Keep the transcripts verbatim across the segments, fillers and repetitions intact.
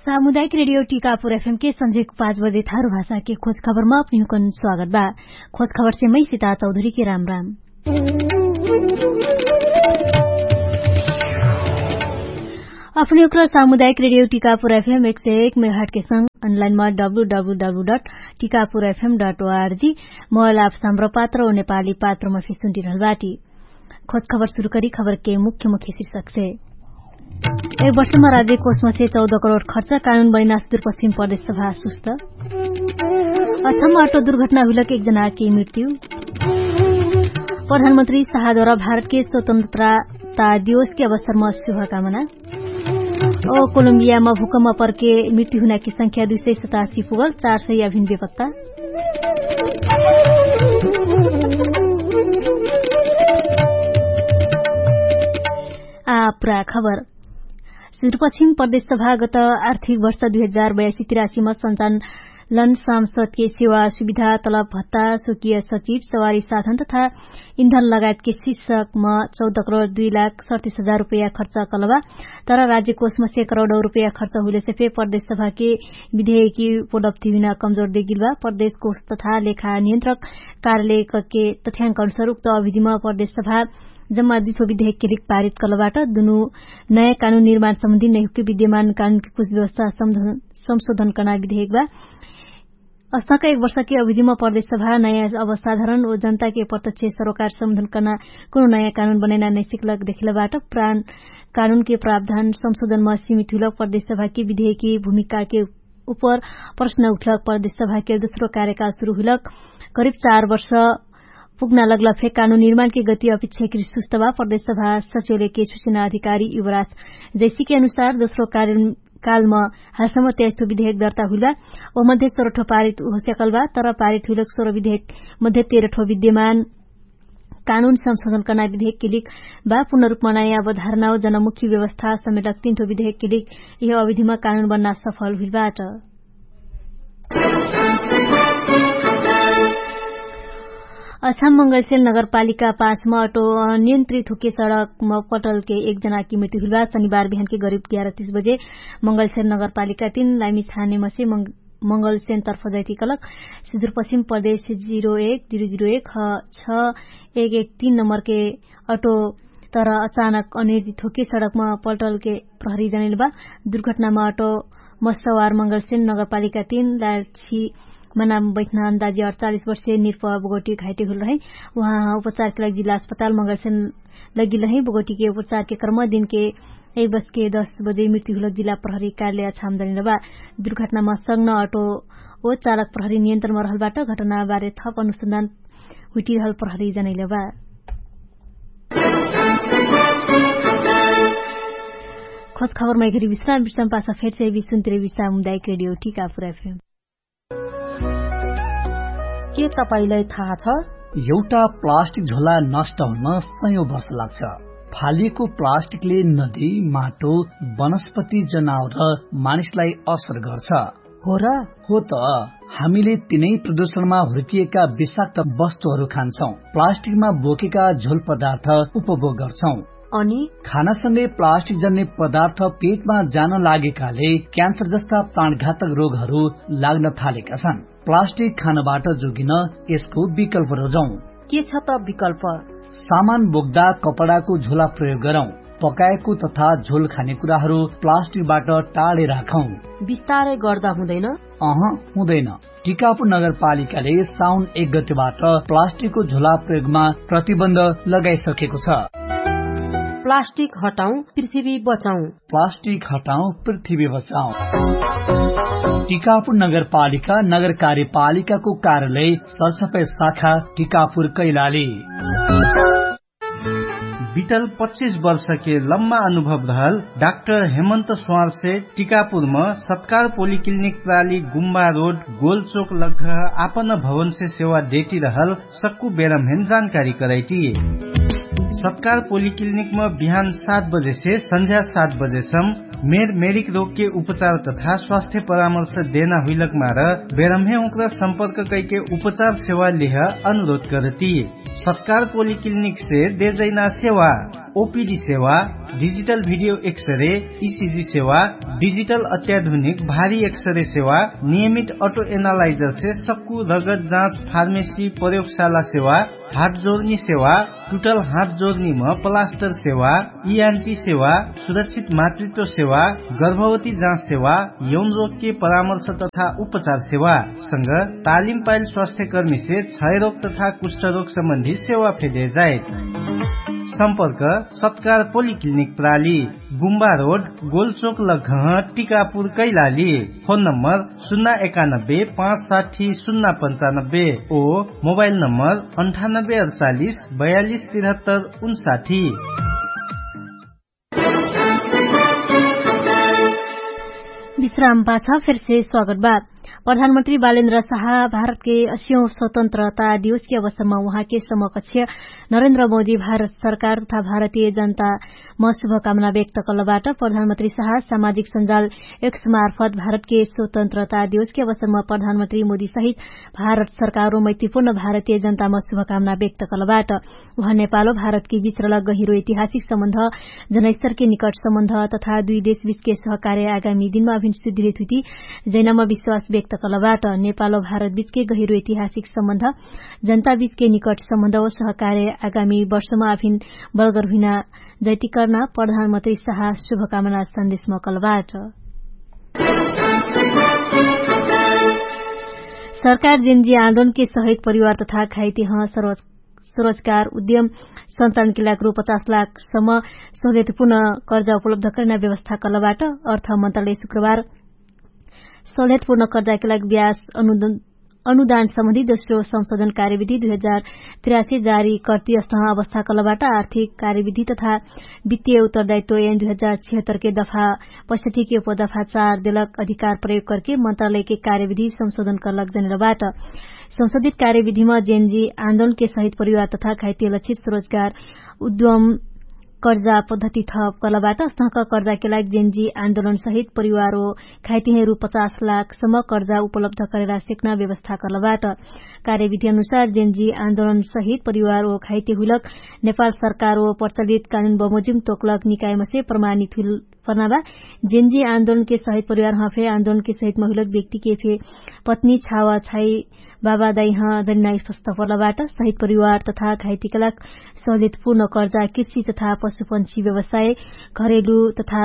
सामुदायिक रेडियो टिकापुर एफएम के सन्झेक पाँच बजे थारु भाषा के खोज खबरमा अपनिहुकन स्वागत बा। खोज खबर से मै सिता चौधरी के राम राम। अपनिहुक्र सामुदायिक रेडियो टिकापुर एफएम एक सय एक मेघाट के संग अनलाइनमा W W W dot Tikapur FM dot ORG mobile app Hamro पात्र ओ नेपाली पात्र मफे सुन्टिरहल बाटी। खोज खबर सुरु करी खबर के मुख्य मुख्य शीर्षक से। एक वर्षमा राज्य कोसमा से चौध करोड खर्च कानुन बनिना सुदुर पश्चिम प्रदेश सभा सुस्त। अछम अटो दुर्घटना हुइलक एक जनाके मृत्यु। प्रधानमन्त्री साहद्वारा भारतके स्वतन्त्रता दिवसके अवसरमा शुभकामना। ओ कोलम्बियामा भुकम्मा परके मृत्यु हुनाके संख्या दुई सय सतासी पुगल चार सय अभिन बेपत्ता। आ पुरा खबर। सुदुरपश्चिम प्रदेश सभागत आर्थिक वर्ष दुई हजार बयासी तिरासीमा सञ्चालन सांसदके सेवा सुविधा तलब भत्ता स्वकीय सचिव सवारी साधन तथा इन्धन लगायतके शीर्षकमा चौध करोड दुई लाख सडतिस हजार रुपैया खर्च कलबा। तर राज्यकोषमा से करोडौ रुपैया खर्च हुइलेसे फे प्रदेश सभाके विधेयकी उपलब्धि हुइना कमजोर देगिलबा। प्रदेश कोष तथा लेखा नियन्त्रक कार्यालयके तथ्याङ्क अनुसार उक्त अभिधिमा प्रदेश सभा जम्मा दुई ठो विधेयकके लिक पारित कलबाट। दुनु नयाँ कानुन निर्माण सम्बन्धी नैहुके विद्यमान कानुनके कुछ व्यवस्था संशोधन कर्ना विधेयकबा। अस्ताका एक वर्षके अभिधिमा प्रदेश सभा नयाँ अवसाधारण ओ जनताके प्रत्यक्ष सरोकार सम्बन्धन कर्ना कुनु नयाँ कानुन बनैना नैसिकलक देखेलबाट। प्राण कानुनके प्रावधान संशोधनमा सीमित हुइलक प्रदेश सभाके विधेयकी भूमिकाके उपर प्रश्न उठलक प्रदेश सभाके दोस्रो कार्यकाल सुरु हुइलक करिब चार वर्ष पुग्ना लगलफे कानुन निर्माणके गति अपिच्छाकृत सुस्तबा प्रदेश सभा सचोलेके सुचना अधिकारी युवराज जैसीके अनुसार दोस्रो कार्यकालमा हालसम्म त्याइस ठो विधेयक दर्ता हुइलबा। ओ मध्ये सोह्र ठो पारित होस्याकलबा तर पारित हुइलक सोह्र विधेयक मध्ये तेह्र ठो विद्यमान कानुन संशोधन कर्ना विधेयकके लिक बा पुनरुपमा नयाँ अवधारणाओ जनमुखी व्यवस्था समेटक तीन ठो विधेयकके लिक यह अविधिमा कानुन बन्ना सफल हुइलबाट। अछाम मंगलसेल नगरपालिका पासमा अटो नियन्त्रित हुके सडकमा पटलके एक जनाकी मृत्यु हुइलबा। शनिबार बिहानके गरिब ग्यारह तीस बजे मंगलसेल नगरपालिका तीन लाइमी छानेमसे मंगलसेन तर्फ जैतिकलक सिधुरपश्चिम प्रदेश जिरो एक जिरो जिरो एक ह छ एक एक तीन नम्बरके अटो तर अचानक अनिर्जित होके सडकमा पल्टलके प्रहरी जनैलबा। दुर्घटनामा अटो मस्सवार मंगलसेन नगरपालिका तीन लालछी मनाम बैठना अन्दाजी अडचालिस वर्षे निर्पह बोगटी घाइटे हुल रहै। उहाँ उपचारके लागि जिल्ला अस्पताल मंगलसेन लगिल रहै। बोगटीके उपचारके कर्म दिनके एक बजके दस बजे मृत्यु हुलक जिल्ला प्रहरी कार्यालय छाम जनैलबा। दुर्घटनामा सग्न अटो ओ चालक प्रहरी नियन्त्रणमा रहलबाट घटनाबारे थप अनुसन्धान हुइटिरहल प्रहरी जनैलबा। खोज खबरमा एघरी विश्राम विश्राम पासा फेर से विश्राम तिरे विश्राम हुँदा एक रेडियो टिकापुर एफएम। के तपाईंलाई थाहा छ? एउटा प्लास्टिक झोला नष्ट हुन सयौं वर्ष लाग्छ। फालिएको प्लास्टिकले नदी, माटो, वनस्पति, जनावर र मानिसलाई असर गर्छ। हो र? हो त। हामीले तिनै प्रदूषणमा हुर्किएका विषाक्त वस्तुहरू खान्छौं, प्लास्टिकमा बोकेका झोल पदार्थ उपभोग गर्छौं। अनि खानासँगै प्लास्टिक जन्ने पदार्थ पेटमा जान लागेकाले क्यान्सर जस्ता प्राणघातक रोगहरू लाग्न थालेका छन्। प्लास्टिक खानबाट जोगिन यसको विकल्प रोजौं। के छ त विकल्प? सामान बोक्दा कपडाको झोला प्रयोग गरौं। पकाएको तथा झोल खाने कुराहरू प्लास्टिकबाट टाढे राखौं। बिस्तारै गर्दा हुँदैन? अह, हुँदैन। टिकापुर नगरपालिकाले साउन एक गतेबाट प्लास्टिकको झोला प्रयोगमा प्रतिबन्ध लगाइसकेको छ। प्लास्टिक हटाउँ, पृथ्वी बचाउँ। प्लास्टिक हटाउँ, पृथ्वी बचाउँ। टिकापुर नगरपालिका नगर कार्यपालिकाको कार्यालय सरसफाई शाखा टिकापुर कैलाली। बितल पच्चिस वर्षके लम्मा अनुभव रहल डाक्टर हेमन्त स्वार्से टिकापुरम सत्कार पोलिक्लिनिक प्राली गुम्बा रोड गोलचोक लग्घ आपन भवनसे सेवा देटिरहल सक्कु बेरम्हेन जानकारी कराइटी। सत्कार पोलिक्लिनिकम बिहान सात बजेसे सन्झ्या सात बजेसम मेर मेरिक रोगके उपचार तथा स्वास्थ्य परामर्श देना हुइलक मार बेरम्हे उक्र सम्पर्क कैके उपचार सेवा लेह अनुरोध करती। सत्कार पोलिक्लिनिकसे देजैना सेवा। ओपिडी सेवा, डिजिटल भिडियो एक्सरे, इसिजी सेवा, डिजिटल अत्याधुनिक भारी एक्सरे सेवा, नियमित अटो एनालाइजर से सक्कु रगत जाँच फार्मेसी प्रयोगशाला सेवा, हाट जोर्नी सेवा, टुटल हाट जोर्नी म प्लास्टर सेवा, इआन्टी सेवा, सुरक्षित मातृत्व सेवा, गर्भवती जाँच सेवा, यौन रोगके परामर्श तथा उपचार सेवा संग तालिम पाइल स्वास्थ्यकर्मीसे क्षयरोग तथा कुष्ठरोग सम्बन्धी सेवा फेदे जाइत। सम्पर्क सत्कार पोलिक्लिनिक प्राली, गुम्बा रोड, गोलचोक लग्घह, टिकापुर कैलाली। फोन नम्बर सुन्ना एकानब्बे पाँच साठी सुन्ना पन्चानब्बे ओ मोबाइल नम्बर अन्ठानब्बे अडचालिस बयालिस तिरहत्तर उन्साठी। विश्राम पाछा फेरसे स्वागत बा। प्रधानमन्त्री बालेन्द्र साहा भारतके असियौं स्वतन्त्रता दिवसके अवसरमा उहाँके समकक्ष नरेन्द्र मोदी भारत सरकार तथा भारतीय जनता म शुभकामना व्यक्त कलबाट। प्रधानमन्त्री साहा सामाजिक सञ्जाल एक्स मार्फत भारतके स्वतन्त्रता दिवसके अवसरमा प्रधानमन्त्री मोदी सहित भारत सरकारो मैत्रीपूर्ण भारतीय जनता म शुभकामना व्यक्त कलबाट। उहाँ नेपालो भारतके बिचरल गहिरो ऐतिहासिक सम्बन्ध, जनैस्तरके निकट सम्बन्ध तथा दुई देशबिचके सहकार्य आगामी दिनमा अभिन सुधिरित हुइती जैनामा विश्वास व्यक्त कलबाट। नेपालो भारतबिचके गहिरो ऐतिहासिक सम्बन्ध, जनताबिचके निकट सम्बन्ध ओ सहकार्य आगामी वर्षमा अभिन बलगर हुइना जैतिकर्ना प्रधानमन्त्री साहा शुभकामना सन्देशमा कलबाट। सरकार जेनजी आन्दोलनके सहित परिवार तथा खाइतिह सरोज सरोजगार उद्यम सञ्चालनके लाग रु पचास लाख सम्म सहुलियतपूर्ण कर्जा उपलब्ध करैना व्यवस्था कलबाट। अर्थ मन्त्रालय शुक्रबार सहुलियतपूर्ण कर्जाके लाग ब्याज अनुदान सम्बन्धी दोस्रो संशोधन कार्यविधि दुई हजार तिरासी जारी कर्ति अस्तह अवस्था कलबाट। आर्थिक कार्यविधि तथा वित्तीय उत्तरदायित्व एन दुई हजार छिहत्तरके दफा पैसठीके उपदफा चार देलक अधिकार प्रयोग करके मन्त्रालयके कार्यविधि संशोधन करलक जनेलबाट। संशोधित कार्यविधिमा जेनजी आन्दोलनके सहित परिवार तथा खाइतिह लक्षित सरोजगार उद्यम कर्जा पद्धति थप कलबाट। अस्तहक कर्जाके लाग जेनजी आन्दोलनसहित परिवार ओ खाइतिह रु पचास लाख सम्म कर्जा उपलब्ध करेला सेक्ना व्यवस्था कलबाट। कार्यविधि अनुसार जेनजी आन्दोलनसहित परिवार ओ खाइतिह हुइलक नेपाल सरकार ओ प्रचलित कानुन बमोजिम तोकलक निकायमसे प्रमाणित हुइल पर्नाबा। जेनजी आन्दोलनके सहित परिवार हफे आन्दोलनके सहित महिलक व्यक्तिके फे पत्नी छावा छाई बाबा दाइह जनिनाइ स्वस्थ पर्लबाट। सहित परिवार तथा घाइतिकलाक सहुलियतपूर्ण कर्जा कृषि तथा पशुपन्छी व्यवसाय, घरेलु तथा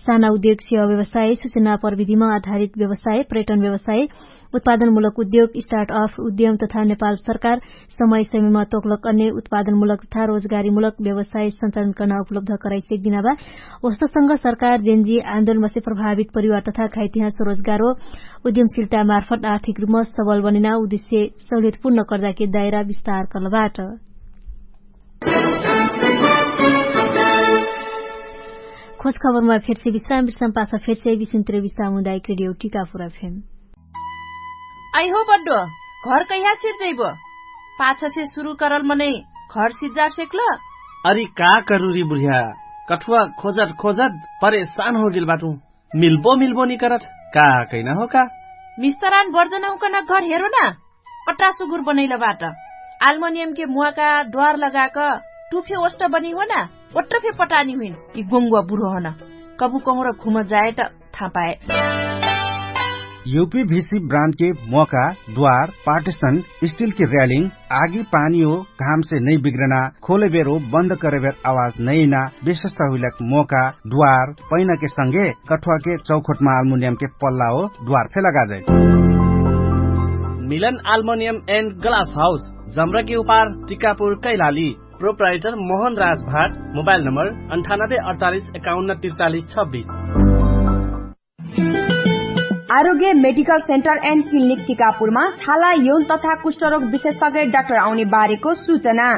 साना उद्योग सेवा व्यवसाय, सुचना प्रविधिमा आधारित व्यवसाय, पर्यटन व्यवसाय, उत्पादनमूलक उद्योग स्टार्टअप उद्यम तथा नेपाल सरकार समय समयमा तोकलक अन्य उत्पादनमूलक तथा रोजगारीमूलक व्यवसाय सञ्चालन कर्ना उपलब्ध कराइसेक दिनाबा। ओस्तसँग सरकार जेनजी आन्दोलनमसे प्रभावित परिवार तथा घाइतिहा स्वरोजगारो उद्यमशिलता मार्फत आर्थिक रूपमा सबल बनेना उद्देश्य सहुलियतपूर्ण कर्जाके दायरा विस्तार कर्लबाट। खोज खबरमा फेरसे विश्राम विश्राम पाछ फेरसे विश्राम पाछ फेरसे विश्राम उदायक रेडियो टिका पुरा फेम। अइहो बड्डो, घर कैहा सिर्जैबो? पाछसे सुरु करल मनै घर सिज्जार सेक्ल? अरि का करुरी बुढिया, कठुवा खोजत खोजत परेशान होगेल बाटु। मिल्बो मिल्बो निकरत का? कैना हो का? मिस्तरान बर्जनहुकन घर हेरो ना, अट्टा सुगुर बनैल बाट। आल्मनियमके मुवाका द्वार लगाक टुफे ओष्ट बनी हो ना, ओट्ट फे पटानी हुइन। यि गोङ्गुवा बुढो हन कबु कहुँर घुम जाए त थापाए। युपी भिसी ब्रान्डके मोका, द्वार, पार्टिसन, स्टिलके र्यालिङ, आगी पानी हो घामसे नै बिग्रना, खोलेबेर हो बन्द करेबेर आवाज नैना, विशेषता हुइलक मोका, द्वार, पैनाके संगे कठुवाके चौखोटमा आल्मुनियमके पल्ला हो द्वार फे लगाजै। मिलन आल्मुनियम एन्ड ग्लास हाउस, जम्रकी उपार, टिकापुर, कैलाली। प्रोप्राइटर मोहन राज भाट। मोबाइल नम्बर अन्ठानब्बे अडचालिस एकाउन्न त्रिचालिस छब्बिस। आरोग्य मेडिकल सेन्टर एन्ड क्लिनिक टिकापुरमा छाला यौन तथा कुष्ठरोग विशेषज्ञ डाक्टर आउने बारेको सूचना।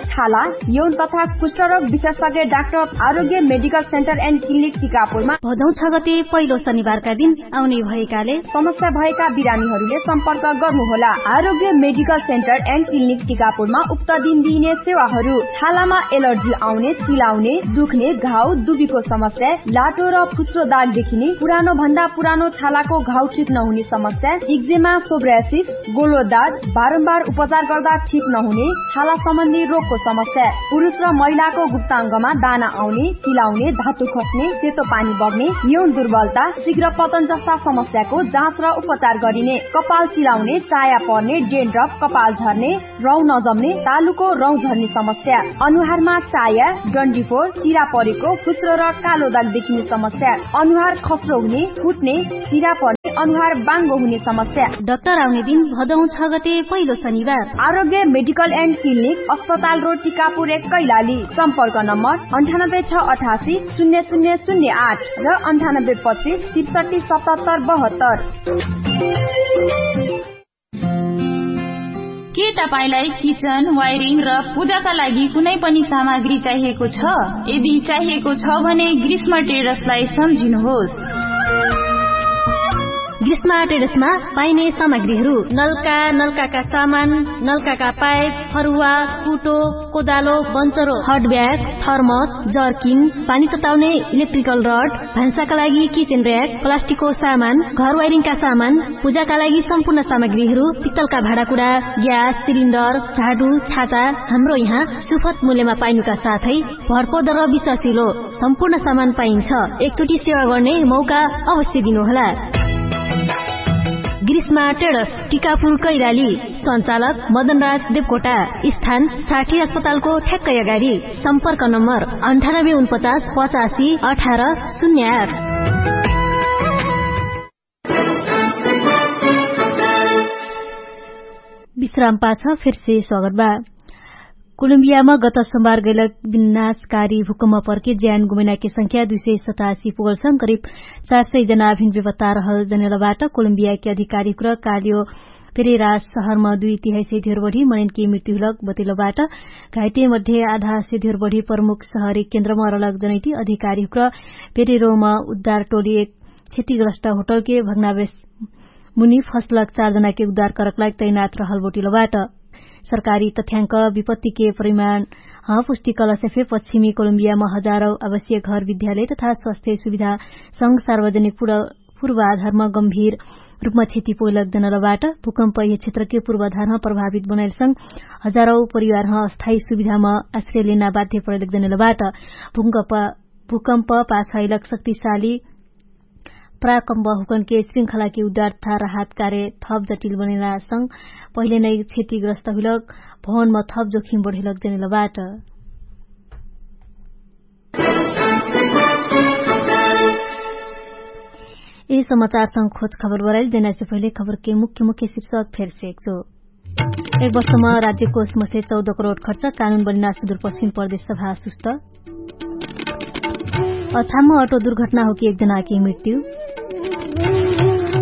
छाला यौन तथा कुष्ठरोग विशेषज्ञ डाक्टर आरोग्य मेडिकल सेन्टर एन्ड क्लिनिक टिकापुरमा भदौ छ गते पहिलो शनिबारका दिन आउने भएकाले समस्या भएका बिरामीहरूले सम्पर्क गर्नुहोला। आरोग्य मेडिकल सेन्टर एन्ड क्लिनिक टिकापुरमा उक्त दिन दिइने सेवाहरू छालामा एलर्जी आउने, चिलाउने, दुख्ने, घाउ, दुबीको समस्या, लाटो र फुस्रो दाग देखिने, पुरानो भन्दा पुरानो छालाको घाउ ठिक नहुने समस्या, इक्जेमा, सोब्रासिस, गोलो दाग, बारम्बार उपचार गर्दा ठिक नहुने छाला सम्बन्धी रोगको समस्या पुरुष र महिलाको गुप्ताङ्गमा दाना आउने, चिलाउने, धातु खट्ने, सेतो पानी बग्ने, न्यौन दुर्बलता, शीघ्र पतन जस्ता समस्याको जाँच र उपचार गरिने। कपाल चिलाउने, चाया पर्ने, डेन्ड्रप, कपाल झर्ने, रौँ नजम्ने, तालुको रौँ झर्ने समस्या, अनुहारमा चाया, डन्डिफोर, चिरा परेको, फुस्रो र कालो दाग देखिने समस्या, अनुहार खस्रो हुने, फुट्ने, चिरा पर्ने, अनुहार बाङ्गो हुने समस्या। डाक्टर आउने दिन भदौ छ गते पहिलो शनिबार। आरोग्य मेडिकल एन्ड क्लिनिक, अस्पताल रोड, टिकापुर एक, कैलाली। सम्पर्क नम्बर अन्ठानब्बे छ अठासी शून्य शून्य शून्य आठ र अन्ठानब्बे पच्चिस त्रिसठी सतहत्तर बहत्तर। के तपाईंलाई किचन, वायरिङ र पूजाका लागि कुनै पनि सामग्री चाहिएको छ? यदि चाहिएको छ भने ग्रीष्म ट्रेडर्सलाई सम्झिनुहोस्। ग्रीष्म ट्रेडर्समा पाइने सामग्रीहरू: नलका, नलकाका सामान, नलकाका पाइप, फरुवा, कुटो, कोदालो, बन्चरो, हट ब्याग, थर्मस, जर्किन, पानी तताउने इलेक्ट्रिकल रड, भान्साका लागि किचन र्‍याक, प्लास्टिकको सामान, घर वायरिङका सामान, पूजाका लागि सम्पूर्ण सामग्रीहरू, पित्तलका भाँडाकुँडा, ग्यास सिलिन्डर, झाडु, छाता, हाम्रो यहाँ सुपथ मूल्यमा पाइनुका साथै भरपर्दो र विश्वासिलो सम्पूर्ण सामान पाइन्छ। एकचोटि सेवा गर्ने मौका अवश्य दिनुहोला। ग्रीष्मा ट्रेडर्स, टिकापुर कैलाली। सञ्चालक मदनराज देवकोटा। स्थान साठी अस्पतालको ठ्याक्कै अगाडि। सम्पर्क नम्बर अन्ठानब्बे उनपचास पचासी अठार शून्य आठ। विश्राम पाछ फेरसे स्वागत बा। कोलम्बियामा गत सोमबार गैलक विनाशकारी भूकम्प पर्के ज्यान गुमैनाके संख्या दुई सय सतासी पुगलसँग करिब चार सय जना अभिन बेपत्ता रहल जनेलबाट। कोलम्बियाके अधिकारीहुक्र कालियो पेरेरा सहरमा दुई तिहाइसे धेर बढी मनैनके मृत्यु हुलक बतेलबाट। घाइटे मध्ये आधासे धेर बढी प्रमुख सहरी केन्द्रमा रहलक जनैटी अधिकारीहुक्र पेरेरोमा उद्धार टोली एक क्षतिग्रस्त होटलके भग्नावेश मुनि फसलक चार जनाके उद्धार करक लाग तैनात रहल बोटिलबाट। सरकारी तथ्याङ्क विपत्तिके परिमाण ह पुष्टिकलसे फे पश्चिमी कोलम्बियामा हजारौ आवश्यक घर विद्यालय तथा स्वास्थ्य सुविधा संग सार्वजनिक पूर्वाधारमा गम्भीर रूपमा क्षति पोइलक जनलबाट। भूकम्प यह क्षेत्रके पूर्वाधारमा प्रभावित बनैलसँग हजारौ परिवारह अस्थायी सुविधामा आश्रय लेना बाध्य परैलक जनलबाट। भूकम्प पाछाइलक शक्तिशाली प्राकम्प हुकनके श्रृङ्खलाके उद्धार तथा राहत कार्य थप जटिल बनेलासँग पहिले नै क्षतिग्रस्त हुइलक भवनमा थप जोखिम बढेलक जनेलबाट। यही समाचारसँग खोज खबर बराइल देनासे पहिले खबरके मुख्य मुख्य शीर्षक फेरसे एकचो। एक वर्षमा राज्यकोष मसे चौध करोड खर्च कानुन बलिना सुदूरपश्चिम प्रदेश सभा सुस्त। अछाम अटो दुर्घटना होके एक जनाके मृत्यु।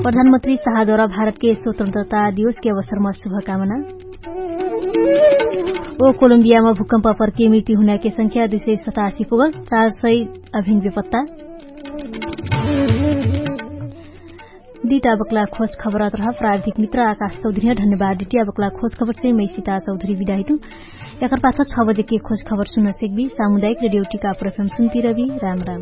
प्रधानमन्त्री साहद्वारा भारतके स्वतन्त्रता दिवसके अवसरमा शुभकामना। ओ कोलम्बियामा भूकम्प पर्के मृत्यु हुनाके संख्या दुई सय सतासी पुगल, चार सय अभिन बेपत्ता। दिटा बक्ला खोज खबर अतरह प्राविधिक मित्र आकाश चौधरी ह धन्यवाद दिटिया बक्ला खोज खबर चाहिँ मैसिता चौधरी बिदाहितु। एकर पाछ छ बजेके खोज खबर सुन्न सेक्बी सामुदायिक रेडियो टिका प्रफेम सुन्ती रबी। राम राम।